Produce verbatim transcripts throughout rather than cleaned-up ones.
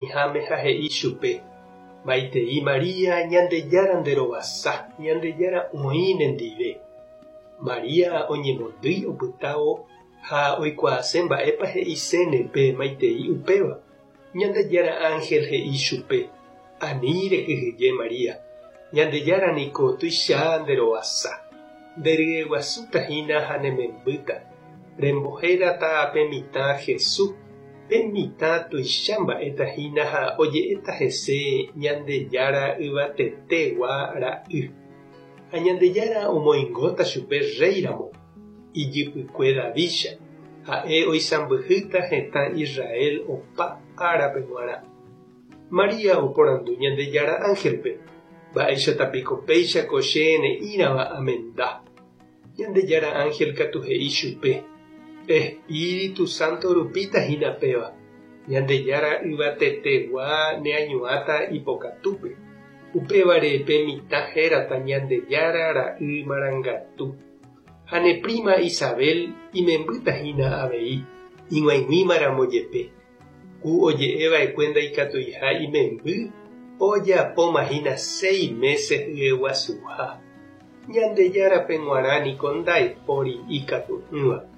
Oĩháme ha he'i chupe: Maitei Maria, Ñandejára nderovasa, Ñandejára oĩ nendive. Maria oñemondýi opytávo ha oikuaase mba'épa he'iséne pe maitei upéva. Ñandejára ángel he'i chupe: Ani rekyhyje Maria, Ñandejára niko tuicha nderovasa. Nderyeguasutahína ha nemembýta. Rembohérata pe mitã Jesús. Pe mitã tuicha mba'etahína ha oje'éta hese Ñandejára Yvatetegua Ra'y. Ha Ñandejára omoingóta chupe rréiramo, ijypykue Davídcha, ha'e oisãmbyhýta hetã Israel opa árape g̃uarã. Maria oporandu Ñandejára ángelpe: Mba'éichatapiko péicha ko che ne'ĩrava amenda. Ñandejára ángel katu he'i chupe: Espíritu Santo rupítahína péva. Ñandejára Yvatetegua neañuãta ipokatúpe. Upévare pe mitã hérata Ñandejára Ra'y Marangatu. Ha ne prima Isabel imembýtahína avei, ig̃uaig̃uímaramo jepe. Ku oje'eva'ekue ndaikatuiha imemby ojapomahína seis meses hyeguasuha. Ñandejárape g̃uarã niko ndaipóri ikatu'ỹva.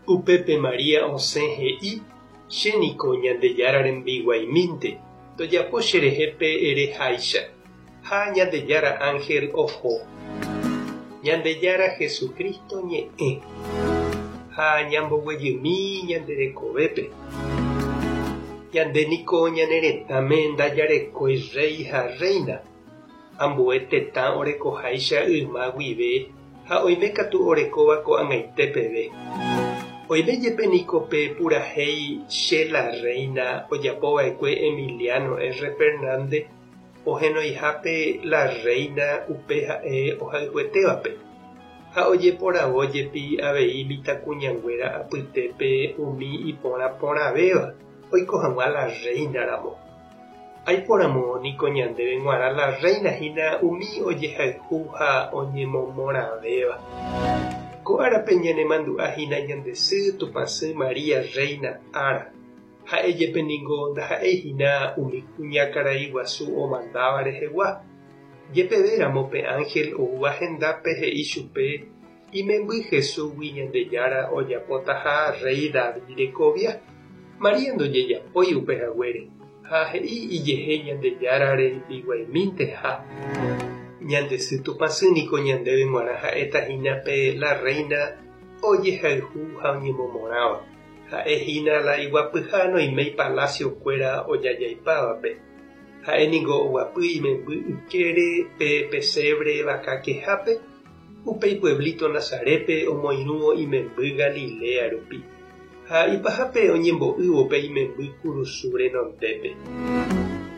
Upépe Maria osẽ he'i: Chéniko Ñandejára rembiguaimínte, tojapo cherehe pe ereháicha. Ha Ñandejára ángel oho. Ñandejára Jesucristo ñe'ẽ. Ha ñamboguejymi ñande rekovépe. Ñande niko ñane retãme ndajarekói rey ha reina. Ambue tetã orekoháicha yma guive ha oimékatu orekóva ko'ag̃aite peve. Oime jepe niko pe purahéi Che la reina ojapova'ekue Emiliano R. Fernández ohenoihápe la reina upe ha'e ohayhuetévape ha ojeporavojepi avei mitãkuñanguéra apytépe umi iporãporãvéva oiko hag̃ua la reina-ramo. Aipóramo niko ñandéve g̃uarã la reina hína umi ojehayhu ha oñemomorãvéva. Ko árape ñanemandu'ahína ñande sy Tupãsy Maria Reina ára. Ha'e jepe niko ndaha'eihína umi kuñakarai guasu omandáva rehegua. Jepevéramo pe ángel oúva hendápe he'i chupe imemby Jesúsgui Ñandejára ojapotaha rey David rekovia. Maria ndojejapói upehaguére ha he'i ijehe Ñandejára rembiguaiminteha. Ñande sy Tupãsy niko ñandéve g̃uarã ha'etahína pe la reina ojehayhu ha oñemomorãva. Ha'ehína la iguapyha noiméi palaciokuéra ojajaipávape. Ha'e niko oguapy imemby ykére pe pesebre vakakehápe upéi pueblito Nazarépe omoirũvo imemby Galilea rupi. Ha ipahápe oñembo'ývo pe imemby kurusu renondépe.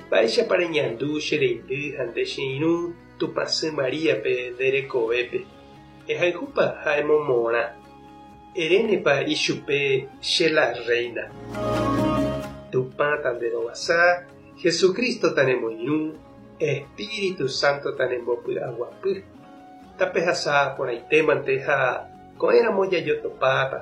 Mba'éichapa reñandu che reindy ha nde che irũ Tupãsy Mariape nde rekovépe. Ehayhúpa ha emomorã. Erénepa ichupe che la reina. Tupã tanderovasa, Jesucristo tanemoirũ, Espíritu Santo tanembopy'aguapy. Tapehasa porãitémante ha ko'ẽramo jajotopáta.